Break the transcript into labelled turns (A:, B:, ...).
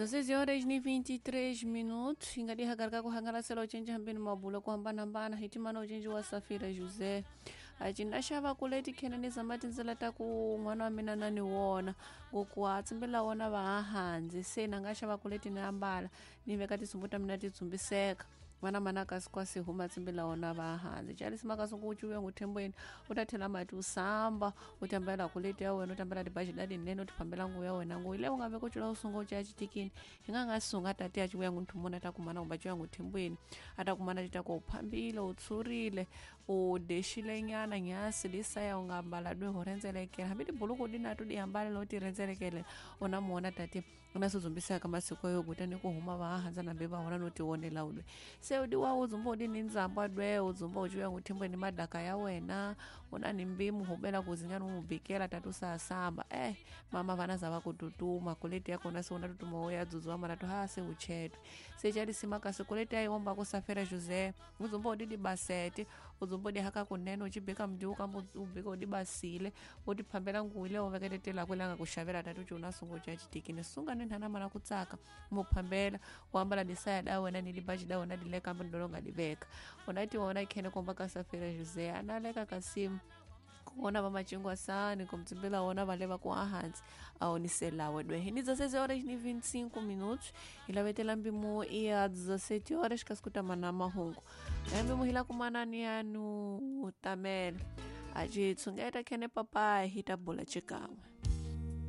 A: 16 horas ni 23 minutos ingadihakarika kuhangalasela ucenji hambeni mabulo kuhambanahambana hitimana ucenji wa Safira José acina xava kuleti khenani zamatindzela ta ku n'wana wa mina na ni wona ngoku tsimbela wona va ha handzi se na nga xava kuleti ni ambala ni veka tisumbu ta mina ti dzumbiseka vana mana kasi kwasi huma tsimbela wona va handzi calisi makasi ku cuwe nguthembweni u ta thela mati u samba u tambela kuleti ya wena u tambela tibaji da tinene u tifambela nguvu ya wena nguvu ile u nga ve ku cula u sunga u caya xitikini hi nga nga sunga tati ya civuya ngunthumuna ta kumana kumba cuya nguthembweni a ta kumana ti ta ku u phambile u tshurile u dexile nyana nyasi lisaya u nga ambala dwe ho rhendzelekela hambi tibuluku di na to di ambala lo ti rhendzelekele u na muona tati u na swidzumbisaka masiku yo kutani ku huma va handza nambe va wona no tionela udwe se udi wa u dzumba udi ni ndzamba dwe u dzumba u cuya nguthembweni madaka ya wena u na ni mbimu hubela kuzinyana u mubikela tati u sasamba mama vana za va ku tutuma kuleti ya kona se u na tutuma wo ya dzudziwa mara to ha se u chetwe se calisima kasi kuleti ya iwomba ku Safira José u dzumba udi dibasete u dzumba udi haka kunene u cibika mdiwu kamba u bika udi basile u ti phambela nguvu leyo u veketetela ku langa ku xavela tati u ci u na sunga u ca xitikini sunga ni nhana mana ku tsaka mu phambela u ambala disaya da wena ni libaji da wena dileka kambe ndolonga diveka una ti wona khene komba ka Safira José analeka kasimu kuona va macingwasani kumtsimbela wona va leva ku ahansi aoniselawe dwe ni 16 horas ni 25 minutos hi lavetela mpimo ya 17 horas kasi ku tama na mahungu mpimo hi la kumana ni yanu tamela a ci tshungeta khene papayi hi ta bula xikan'we.